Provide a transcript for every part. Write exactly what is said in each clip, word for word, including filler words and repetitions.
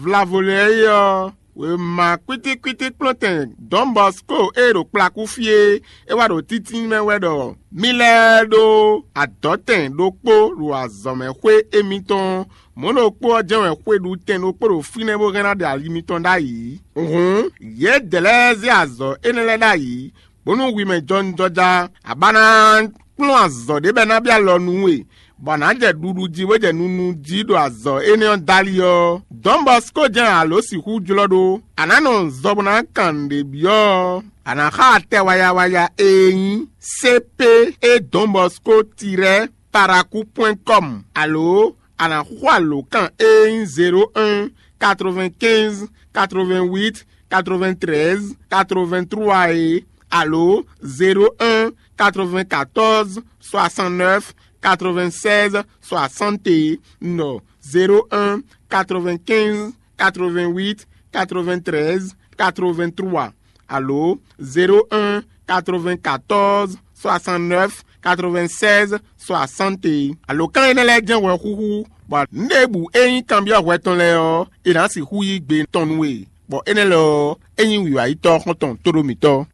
Vlavo lɛ́ɛ é ɔ́, wěma kwítíkwítí kplɔ́ntɛn Dɔn Bɔsko e ɖo kplakú fí é, é wá ɖo títínmɛ wɛ ɖɔ mì lɛ́ɛ ɖó adɔ̌tɛn ɖokpó ɖo azɔ̌mɛxwé émítɔn. Mɔ̌ ɖokpó ɔ́ jɛ́n wɛ xwe ɖu tɛn ɖokpó ɖo fínɛ́ bó hɛn ná ɖe ali mitɔn ɖ'ayǐ. Hǔn, yědɛɛ lɛ́ɛ zé azɔ̌ énɛ́ lɛ́ɛ ɖ'ayǐ, bónú hwi mɛ jɔnjɔja a ba ná kplɔ́n azɔ̌ ɖé bɔ é ná byɔ́ alɔ nú we, bɔ a nǎ jɛ ɖuɖu jí bó jɛ nunu jí ɖo azɔ̌ énɛ́ ɔ́ dali ɔ́, Dɔn Bɔsko jɛ́n a lǒ sixú jlɔ́ ɖó. A nǎ nɔ zɔ bó ná kan nǔɖé byɔ́ ɔ́, a nǎ xa atɛ wayawaya e nyí C P E Dɔn Bɔsko tirɛ́ paraku pwɛ́n kɔmu, alo a nǎ xo alǒkan e nyí zéro un, quatre-vingt-quinze, quatre-vingt-huit, quatre-vingt-treize, quatre-vingt-trois é, alo zéro un, quatre-vingt-quatorze, soixante-neuf, quatre-vingt-seize, soixante é, nɔ zéro un, quatre-vingt-quinze, quatre-vingt-huit, quatre-vingt-treize, quatre-vingt-trois, alo zéro un, quatre-vingt-quatorze, soixante-neuf, quatre-vingt-seize, soixante é. Alǒkan énɛ́ lɛ́ɛ jɛ́n hwɛ xúxú, bɔ nǔɖěbǔ e nyí kanbyɔ́ hwɛ tɔn lɛ́ɛ ɔ́, è nǎ sixú yí gbe tɔn nú we, bɔ énɛ́ lɛ́ɛ ɔ́, é nyí wǐwáyítɔ́ xɔ́ntɔn tóɖómitɔ́.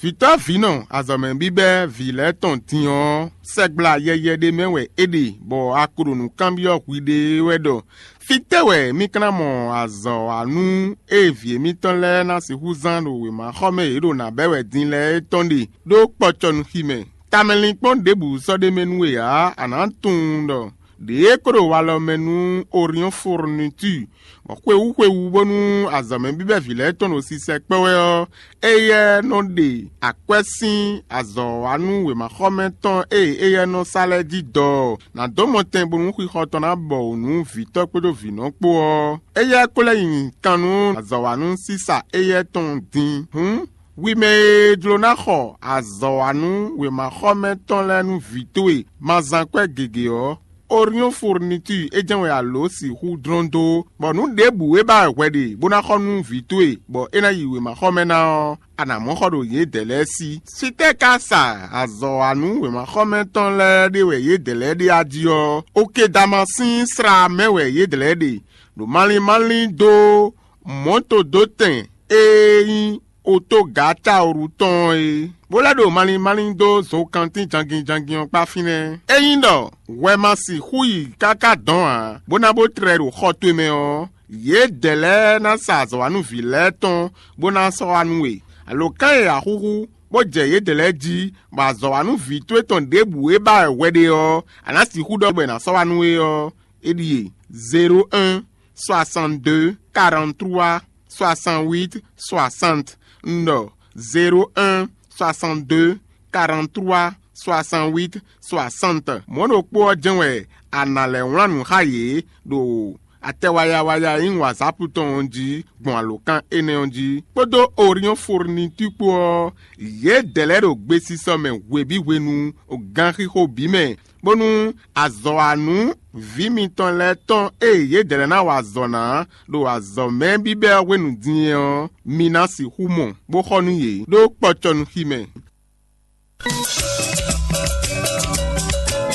Vǐtɔ́ vǐnɔ azɔ̌mɛ bíbɛ́ vǐ lɛ́ɛ tɔn din ɔ́, sɛgbla yɛyɛ ɖé mɛ wɛ é ɖe, bɔ a ko ɖo nǔ kanbyɔ́ hwiɖée wɛ ɖɔ: Fítɛ́ wɛ mì ka ná mɔ azɔ̌ wa nú ée vǐ émítɔn lɛ́ɛ ná sixú zán ɖo wěmaxɔmɛ e yě ɖo nǎ bɛ́ wɛ din lɛ́ɛ é tɔn ɖe ɖó kpɔcɔnuxi mɛ? Tamɛlinkpɔ́n ɖěbǔ sɔ́ ɖ'é mɛ nú we ǎ; a nǎ tunwun ɖɔ ɖě e ko ɖo walɔ mɛ nú Oriɔ́n Fourniture, bɔ xwewú xwewú bónú azɔ̌mɛ bíbɛ́ vǐ lɛ́ɛ tɔn ɖo sisɛ kpɔ́ wɛ ɔ́, éyɛ́ nɔ ɖe akwɛ́ sín azɔ̌wanú wěmaxɔmɛ tɔn e éyɛ́ nɔ sa lɛ́ɛ jí dɔ ɔ́, nǎ dó mɔtɛn bónú xixɔ tɔn ná bɔ wǔ nú vǐtɔ́ kpódó vǐnɔ kpó ɔ́. Éyɛ́ ko lɛ́ nyi kan nú azɔ̌wanú sísa éyɛ́ tɔn din. Hǔn, hwi mɛ e jló ná xɔ azɔ̌wanú wěmaxɔmɛ tɔn lɛ́ɛ nú vǐ towe ma zán kwɛ́ gěgé ɔ́, Oriɔ́n Fourniture é jɛ́n wɛ a lǒ sixú dlɔ́n dó, bɔ nǔ ɖěbǔ e ba wɛ hwɛ ɖe bó ná xɔ nú vǐ towe, bɔ é ná yi wěmaxɔmɛ ná ɔ́, a nǎ mɔ xɔ ɖo yědɛɛ lɛ́ɛ sí. Fítɛ́ ka sa azɔ̌wanú wěmaxɔmɛ tɔn lɛ́ɛ ɖe wɛ yědɛɛ lɛ́ɛ ɖe a jí ɔ́? Okedama sín slá mɛ wɛ yědɛɛ lɛ́ɛ ɖe, ɖo malín malín dó mɔ̌todótɛn e nyí otógǎcaoru tɔn ɔ́ é, bó lɛ́ ɖo malín malín dó zokantín jangin jangin ɔ́ kpá fínɛ́. Ényí ɖɔ hwɛ ma sixú yi káká dɔ̌n ǎ, bó ná bó tlɛ ɖo xɔ towe mɛ ɔ́, yědɛɛ lɛ́ɛ ná sa azɔ̌wanúví lɛ́ɛ tɔn, bó ná sɔ́ wá nú we. Alǒkan e a xúxú, bó jɛ yědɛɛ lɛ́ɛ jí, bɔ azɔ̌wanúví towe tɔn ɖěbǔ e ba wɛ hwɛ ɖe ɔ́, a nǎ sixú ɖɔ bɔ è nǎ sɔ́ wá nú we ɔ́, é ɖíe: zéro un, soixante-deux, quarante-trois, soixante-huit, soixante. Un ɖɔ: zéro un, soixante-deux, quarante-trois, soixante-huit, soixante. Mɔ̌ ɖokpó ɔ́ jɛ́n wɛ a nǎ lɛ́ wlán nǔ xá yě ɖo atɛ wayawaya e nyí WhatsApp tɔn ɔ́ jí gbɔn alǒkan énɛ́ ɔ́ jí, kpódó Oriɔ́n Fourniture kpó ɔ́, yědɛɛ lɛ́ɛ ɖo gbesisɔ mɛ hwebǐ hwenu, ganxixo bǐ mɛ, bónú azɔ̌wanú vǐ mitɔn lɛ́ɛ tɔn e yědɛɛ lɛ́ɛ ná wa azɔ̌ ná ɖo azɔ̌mɛ bíbɛ́ ɔ́ hwenu din é ɔ́, mi ná sixú mɔ, bó xɔ nú yě ɖó kpɔcɔnuxi mɛ.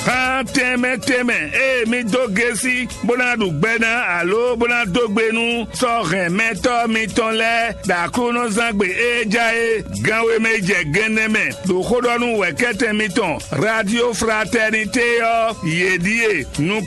Xá tɛnmɛ tɛnmɛ e mi dó gesi bó ná ɖu gbɛ ná alo bó ná dó gbe nú sɔ́ hɛn mɛtɔ́ mitɔn lɛ́ɛ ɖo Aklúnɔzángbe e ja é gan e mɛ yi jɛ gɛnnɛ mɛ ɖo xó ɖɔ nú wɛ̌kɛ́tɛn mitɔn Radio Fraternité ɔ́, yě ɖíe: nukún